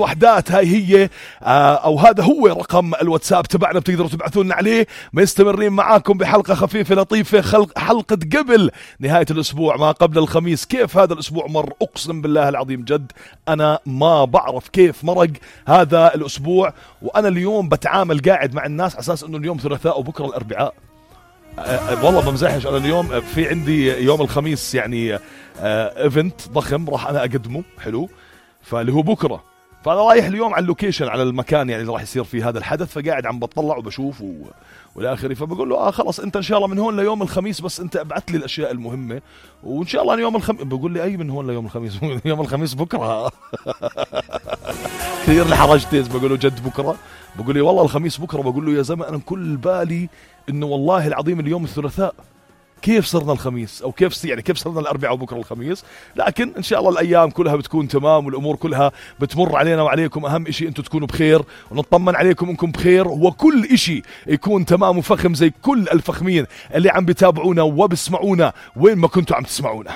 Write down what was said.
وحدات. هاي هي أو هذا هو رقم الواتساب تبعنا، بتقدروا تبعثوا لنا عليه. مستمرين معاكم بحلقة خفيفة لطيفة، حلقة قبل نهاية الأسبوع ما قبل الخميس. كيف هذا الأسبوع مر؟ أقسم بالله العظيم جد أنا ما بعرف كيف مرق هذا الأسبوع. وأنا اليوم بتعامل قاعد مع الناس على أساس أنه اليوم ثلاثاء وبكرة الأربعاء. والله بمزحش، أنا اليوم في عندي يوم الخميس يعني ايفنت ضخم راح أنا أقدمه حلو، فاللي هو بكرة. فأنا رايح اليوم على اللوكيشن، على المكان يعني اللي راح يصير فيه هذا الحدث، فقاعد عم بطلع وبشوف والآخري. فبقول له خلص أنت إن شاء الله من هون ليوم الخميس، بس أنت ابعث لي الأشياء المهمة وإن شاء الله يوم الخميس. بقول لي أي من هون ليوم الخميس؟ يوم الخميس بكرة. كثير لحرجتيز. بقول له جد بكرة؟ بقول لي والله الخميس بكرة. بقول له يا زلمة أنا كل بالي إنه والله العظيم اليوم الثلاثاء، كيف صرنا الخميس؟ أو كيف صرنا الأربعاء وبكرة الخميس؟ لكن إن شاء الله الأيام كلها بتكون تمام والأمور كلها بتمر علينا وعليكم. أهم إشي أنتم تكونوا بخير ونطمن عليكم إنكم بخير، وكل إشي يكون تمام وفخم زي كل الفخمين اللي عم بيتابعونا وبسمعونا وين ما كنتوا عم تسمعونا.